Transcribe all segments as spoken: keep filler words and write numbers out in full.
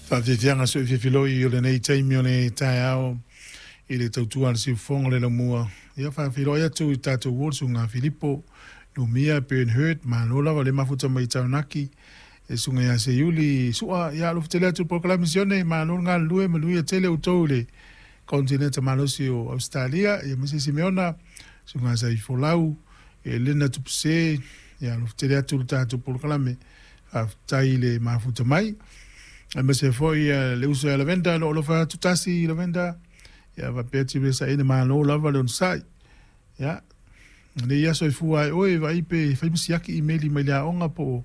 Faafiafiaga soifiafiloi o lenei taimi o le taeao i le tautua a le siufofoga o le laumua. Ia faafeiloai atu i tatou uo le susuga Filipo Numia Bernhard, malo lava le mafuta mai Taunaki, e susuga ia Seiuli Sua, ia alofa tele atu i le polokalame sione, malo le galulue, manuia tele outou i le konetineta malosi o Ausetalia, ia aemaise Simeona, susuga Saifolau, Elena Tupuse, ia alofa tele atu i le tatou polokalame, faafetai i le mafuta mai. Aemaise foi le uso ia Lavenda, o lo o alofa atu tasi Lavenda, ia faapea Tiresa ina malo lava le onosai. Ia, lenei aso e fua ai oe, vaai pe fai ma siaki imeli mai le aoga po o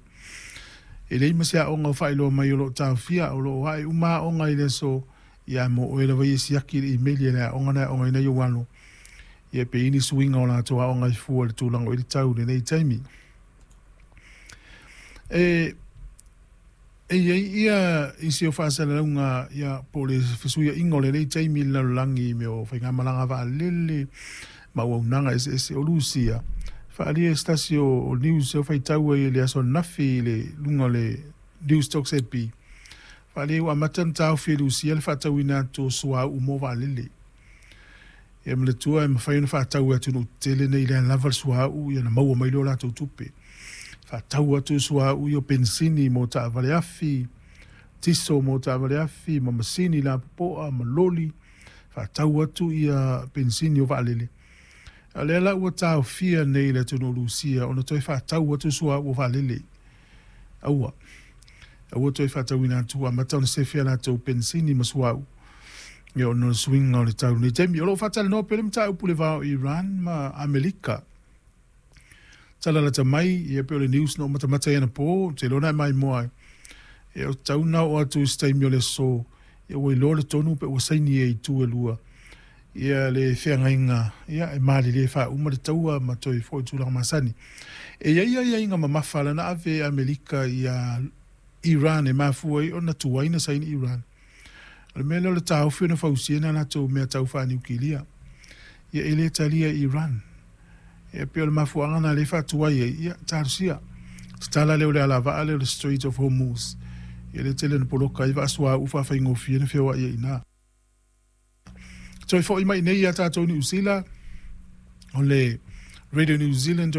e leai ma se aoga o faailoa mai o lo o taofia, o lo o ae uma aoga i le aso, ia mo oe lava ia siaki le imeli a le aoga na e aogaina ai ou alo. Ia pe i ai ni suiga o latou aoga e fua i le tulaga o i le tau i lenei taimi. E E i ai ia isi o faasalalauga ia po o le fesuiaiga o lenei taimi i le lalolagi i mea o faigamalaga vaalele ma auaunaga eseese o Lusia. Faaalia e se tasi o, o news e faitau ai i le aso ananafi i le luga o le News Talk Z B. Faaalia ua amata ona taofi e Lusia le faatauina atu o suauu mo vaalele. Ia manatua e mafai ona faatau e atunuu tetele nei lea lava le suauu ia ona maua mai lea o latou tupe. Faatau atu suauu ia o penisini mo taavale afi, tiso mo taavale afi, ma masini lapopoa ma loli, faatau atu ia penisini o vaalele. A o lea la ua taofia nei le atunuu o Lusia ona toe faatau atu suauu o vaalele. Aua, aua toe faatauina atu, ua amata ona sefe a latou penisini ma suauu ia ona o le suiga o le tau i lenei taimi. O lo o faatalanoa pea le mataupu i le va o Iran ma Amerika. Tala lata mai, ia pei o le news na ou matamata ai anapo, ou te iloa na e maimoa ai. Ia o tatau ona oo atu i se taimi o le aso, ia ua iloa le tonu pe ua saini e itu e lua ia le feagaiga, ia e malilie faauma le taua ma toe foi i tulaga masani. E i ai aiaiga mamafa lana ave e Amerika ia Iran e mafua ai ona tuai na saini Iran. O le mea lea o le taofi ona fausia nai a latou mea tau faaniukilia. Ia e le talia e Iran. Ia pei o le mafuaaga lena lea e faatuai ai, ia talosia. Tatala lea o le alavaa lea o le Strait of Hormuz. Ia lea e tele ina poloka ai vaa suauu faafaigofie ona feoai ai i ina. Toe foi mai nei ia tatou Niu Sila, o le Radio New Zealand